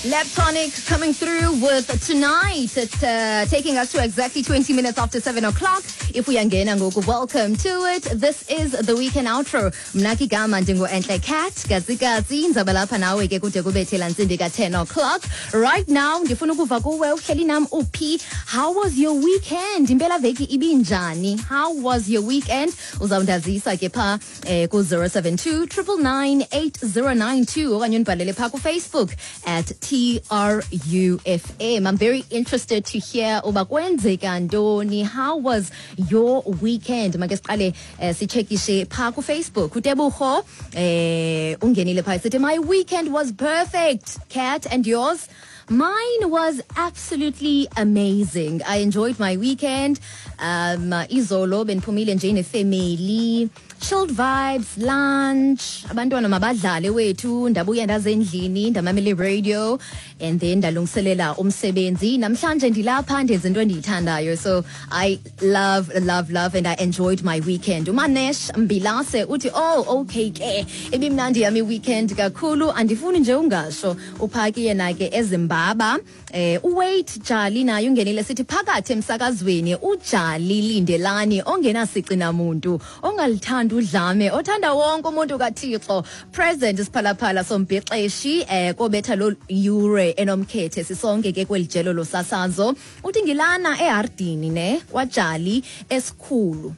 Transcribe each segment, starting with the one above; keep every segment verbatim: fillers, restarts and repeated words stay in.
Leptonic coming through with Tonight. It's uh, taking us to exactly twenty minutes after seven o'clock. If we angena ngoku, welcome to it. This is the weekend outro. Mna ke igama ndingu Entle Cat. Gazi gazi nzaba lapha nawe ke kude kubethela ntsimbi ka ten o'clock. Right now ndifuna ukuva kuwe, uhleli nam uphi? How was your weekend? Impela veki ibinjani? How was your weekend? Uzawundazisa ke pha eh, ku zero seven two triple nine eight zero nine two okanye undibhalele pha ku Facebook at T R U F M. I'm very interested to hear uba kwenzeka ntoni. How was your weekend? Make siqale eh, sichekishe pha ku Facebook. Utebuho eh ungenile pha sithi my weekend was perfect. Cat, and yours? Mine was absolutely amazing. I enjoyed my weekend. Um, izolo bendiphumile nje nefamily. Chilled vibes, lunch, abantwana mabadlale wethu, ndabuya ndaze endlini, ndamamela radio, and then ndalungiselela umsebenzi. Namhlanje ndilapha ndenza into endiyithandayo. So I love, love, love, and I enjoyed my weekend. Umanesh Mbilase uthi, oh, okay ke, ibimnandi yami weekend kakhulu, andifuni nje ungasho. Uphaki yena ke eZimbaba. Eh, uWait Jali naye ungenile sithi phakathi emsakazweni, uJali Lindelani ongenasici namuntu, ongalithandi udlame, othanda wonke umuntu kaThixo. Present isiphalaphala sombhexeshi eh kobetha lo yure enomkhethe sisonke ke kwelijelo losasazo. Uthi ngilana eHardini ne kwaJali esikhulu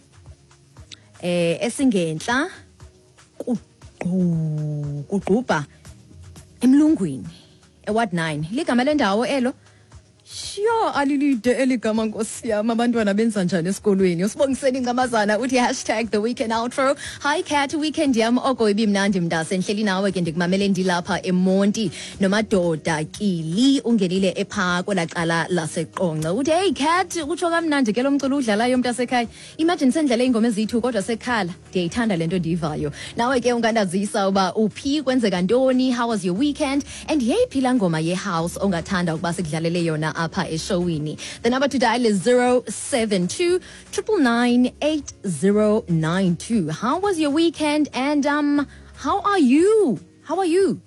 eh esingenhla kugqubha emlungwini eWard nine. Ligama lendawo elo. Sure, alilide eligama nkosi yami, abantwana benza njani esikolweni? Usibongiseni Ncamazana uthi hashtag the weekend outro. Hi Cat, weekend yam oko ibimnandi mntase, ndihleli nawe ke ndikumamele ndilapha eMonti. Nomadoda Kili ungenile epha kwelacala laseQonce. Uthi hey Cat, utsho kamnandi ke lo mculo udlalayo mntasekhaya. Imagine sendlele ingoma ezithu kodwa sekhala. Ndiyayithanda le nto ndiyivayo. Nawe ke ungandazisa uba uphi, kwenzeka ntoni, how was your weekend, and yeyiphi laa ngoma ye-house ongathanda ukuba sikudlalele yona apha eshowini. The number to dial is zero seven two triple nine eight zero nine two. How was your weekend, and um, how are you? How are you?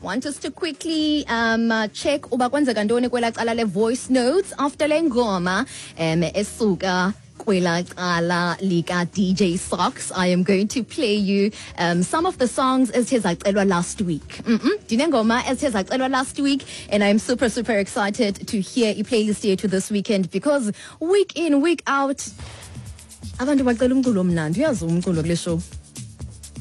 Want us to quickly um uh, check uba kwenzeka ntoni kwela cala le voice notes after le ngoma um esuka kwela cala lika D J Socks. I am going to play you um some of the songs ezithe zacelwa last week. Mm-mm. Ndinengoma ezithe zacelwa last week, and I'm super super excited to hear i-playlist yethu this weekend, because week in week out abantu bacela umculo omnandi. Uyazi umculo kule show.